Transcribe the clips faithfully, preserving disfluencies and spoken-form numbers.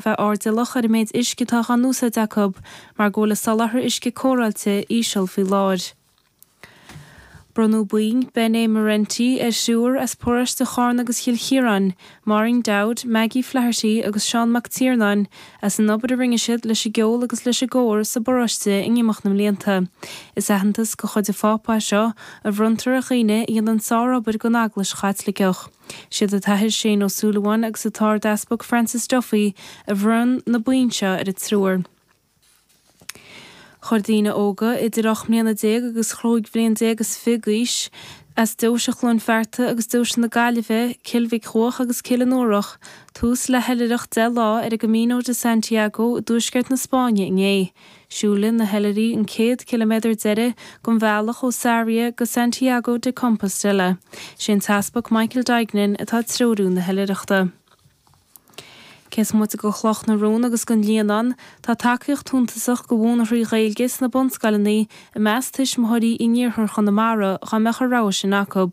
Bheith airdeallach ar an méid uisce atá á úsáid acu mar go bhfuil a soláthar uisce cóireáilte íseal faoi láthair. Bronnadh boinn Bene Merenti ar thriúr as paróiste Charna agus Chill Chiaráin, Maureen Dowd, Maggie Flaherty agus Seán Mac Tiarnáin, as an obair a rinne siad leis an gceol agus leis an gcór sa bparóiste in imeacht na mblianta. Is aitheantas de chuid an Phápa é seo a bhronntar ar dhaoine a dhéanann sárobair don Eaglais Chaitliceach. Siad an tAthair Shane Ó Súilleabháin agus an tArdeaspag Francis Duffy a bhronn na boinn seo ar an triúr. Chuir daoine óga idir ocht mbliana déag agus chúig bhliain déag is fiche d'aois as Deoise Chluain Fearta agus Deoise na Gaillimhe, Cill Mhic Cuach agus Cill an Uarach, tús le hoilithreacht deich lá ar an gCamino de Santiago i dtuaisceart na Spáinne inné. Siúlfaidh na hoilithrigh an céad ciliméadar deiridh den bhealach ó Sarria go Santiago de Compostela. Sé an tEaspag Michael Duignan atá ag treorú na hoilithreachta. Cé is moite de Chloch na Rón agus den Líonán, tá tacaíocht shuntasach do mhúineoirí Gaeilge sna bunscoileanna i measc tuismitheoirí in iarthar Chonamara dá mbeadh an rogha sin acu.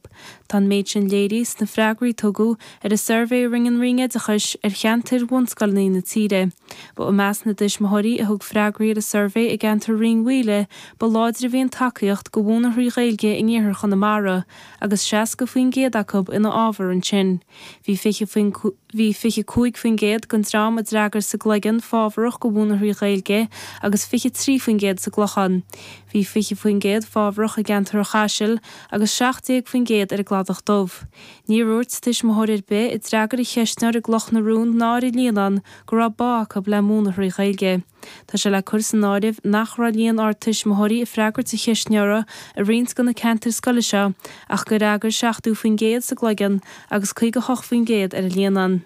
Tá an méid sin léirithe sna freagraí a tugadh ar an suirbhé a rinne an Roinn Oideachais ar cheantair bhunscoileanna na tíre. Ba i measc na dtuismitheoirí a thug freagraí ar an suirbhé i gceantar Rinn Mhaoile ba láidre a bhí an tacaíocht do mhúineoirí Gaeilge in iarthar Chonamara, agus seasca faoin gcéad acu ina fhabhar ansin. Bhí fiche faoin Bhí fiche cúig faoin gcéad den dream a d'fhreagair sa gCloigeann fábharach do mhúineoirí Gaeilge agus fiche trí faoin gcéad sa gClochán. Bhí fiche faoin gcéad fábharach i gceantar an Chaisil agus seacht déag faoin gcéad ar an gCladach Dubh. Níor dhúirt tuismitheoir ar bith a d'fhreagair an cheistneoir i gCloch na Rón ná ar an Líonán go raibh bá acu le múineoirí Gaeilge. Tá sé le cur san áireamh nach raibh líon ard tuismitheoirí ag freagairt an cheistneora i roinnt de na ceantair scoile seo ach gur fhreagair seachtó faoin gcéad sa gCloigeann agus caoga hocht faoin gcéad ar an Líonán.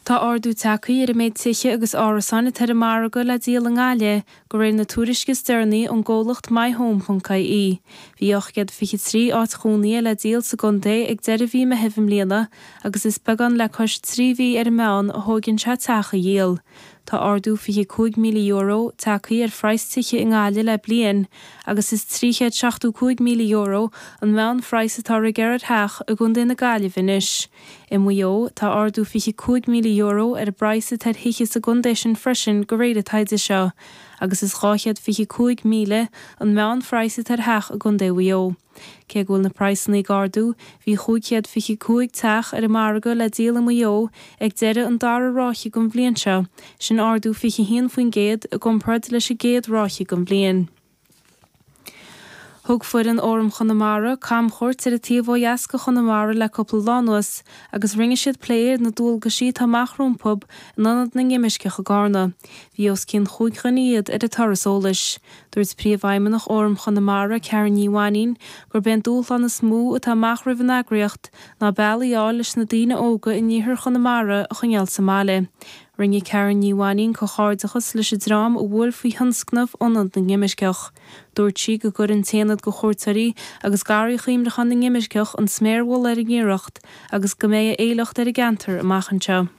Tá ardú tagtha ar an méid tithe agus árasáin atá ar an margadh le díol i nGaillimh, de réir na tuairisce is deireanaí ón gcomhlacht myhome.ie. Bhí ocht gcéad fiche trí áit chónaithe le díol sa gcontae ag deireadh mhí Meithimh i mbliana agus is beagán le cois trí mhí ar an meán a thógann sé teach a dhíol. Tá ardú fiche cúig míle euro tagtha ar phraghas tithe i nGaillimh le bliain agus is trí chéad seachtó cúig míle euro an meánphraghas atá ar gearradh ar theach i gContae na Gaillimhe anois. I Maigh Eo, tá ardú fiche cúig míle euro ar an bpraghas atá ar thithe sa gcontae sin freisin de réir an taighde seo, agus is dhá chéad fiche cúig míle an meánphraghas atá ar theach i gContae Mhaigh Eo. Cé go bhfuil na praghsanna ag ardú, bhí chúig chéad fiche cúig teach ar an margadh le díol i Maigh Eo ag deireadh an dara ráithe den bhliain seo, sin ardú fiche haon faoin gcéad i gcomparáid leis an gcéad ráithe den bhliain. Thug foireann Fhóram Chonamara camchuairt ar an taobh ó dheas de Chonamara le cúpla lá anuas agus rinne siad plé ar na dualgaisí atá amach rompu in Ionad na nImirceach i gCarna. Bhí os cionn chúig dhuine iad ar an turas eolais. Dúirt Príomhfheidhmeannach Fhóram Chonamara, Karen Ní Mhainín, gurb é an dúshlán is mó atá amach roimh an eagraíocht ná bealaí a fháil leis na daoine óga in iarthar Chonamara a choinneáil sa mbaile. Rinne Karen Ní Mhainín comhghairdeachas leis an dream a bhuail faoi thionscnamh Ionad na nImirceach. Dúirt sí go gcuireann an tAonad do Chuairteoirí agus Garraí Chuimhneacháin na nImirceach an sméar mhullaigh ar an iarracht agus go mbeidh a éifeacht ar an gceantar amach anseo.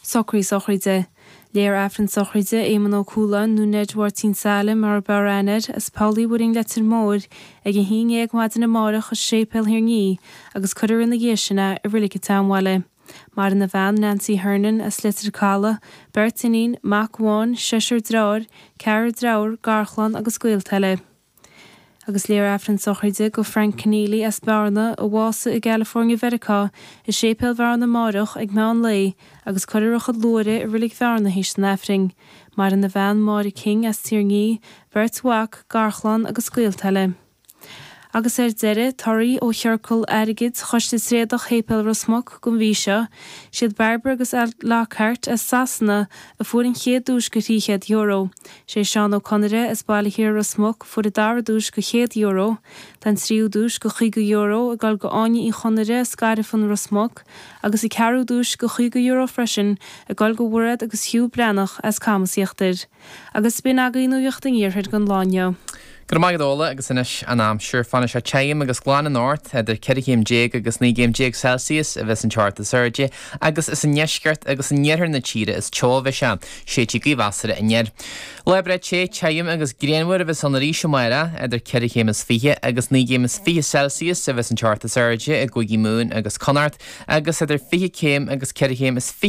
Socruithe sochraide. Léifear Aifreann sochraide Éamonn Ó Cualáin nó Ned Mháirtín Saile mar ab fhearr aithne air as Poll Uí Mhuirinn Leitir Móir ag a haon dhéag maidin amárach i Séipéal Thír an Fhia agus cuirfear ina dhiaidh sin é i Reilig an tSeanbhaile. Maireann a bhean Nancy Hernon as Leitir Caladh, beirt iníon, mac amháin, seisear deartháir, ceathrar deirfiúr, garchlann agus gaolta eile. Agus léifear Aifreann sochraide do Frank Keneally as Bearna, a bhásaigh i gCalifornia Mheiriceá, i Séipéal Bhearna amárach ag meán lae agus cuirfear a chuid luaithre i Reilig Bhearna théis an Aifrinn. Maireann a bhean Máire King as Tír an Fhia, beirt mhac, garchlann agus gaolta eile. Agus ar deireadh, torthaí ó chiorcal airgid Choiste Tréadach Shéipéal Ros Muc don mhí seo, siad Barbara agus Al Lockhart as Sasana a fuair an chéad duais de thrí chéad euro. Sé Seán Ó Conaire as Baile Thiar Ros Muc a fuair an dara duais de chéad euro. Tá an tríú duais de chaoga euro ag dul go Áine Uí Chonaire as Gairfean Ros Muc agus an ceathrú duais de chaoga euro freisin ag dul go Mhairéad agus Hugh Breathnach as Camas Íochtair. Agus b'in agaibh nuacht an Iarthair don lá inniu. Go raibh maith agat Ola agus anois an aimsir. Fanfaidh sé tirim agus glan anocht, idir ceithre chéim déag agus naoi gcéim déag Celsius a bheas an teocht is airde agus is i ndeisceart agus in iarthar na tíre is teo a bheidh sé. Séidfidh gaoth mheasartha aniar. Lá breá te, tirim agus grianmhar a bheas ann arís amárach, idir ceithre chéim is fiche agus naoi gcéim is fiche Celsius a bheas an teocht is airde i gCúigí Mumhan agus Connacht agus idir fiche céim agus ceithre chéim is fiche